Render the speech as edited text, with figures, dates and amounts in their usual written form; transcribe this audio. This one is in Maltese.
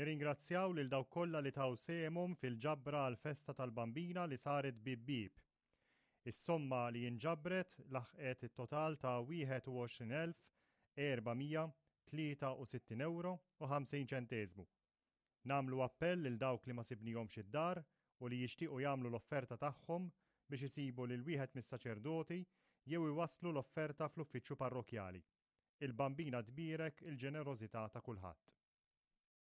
Nirringrazzjaw lil dawk kollha li taw sehemhom fil-ġabra għall-festa tal-Bambina li saret bieb bieb. Is-somma li inġabret laħqet it-total ta' 21,463 ewro u 50 ċenteżmu. Nagħmlu appell lil dawk li ma sibnihomx id-dar u li jixtiequ jagħmlu l-offerta tagħhom biex isibu lil wieħed mis-saċerdoti jew iwasslu l-offerta fl-uffiċċju parrokkjali. Il-Bambina tbierek il-ġenerożità ta' kulħadd.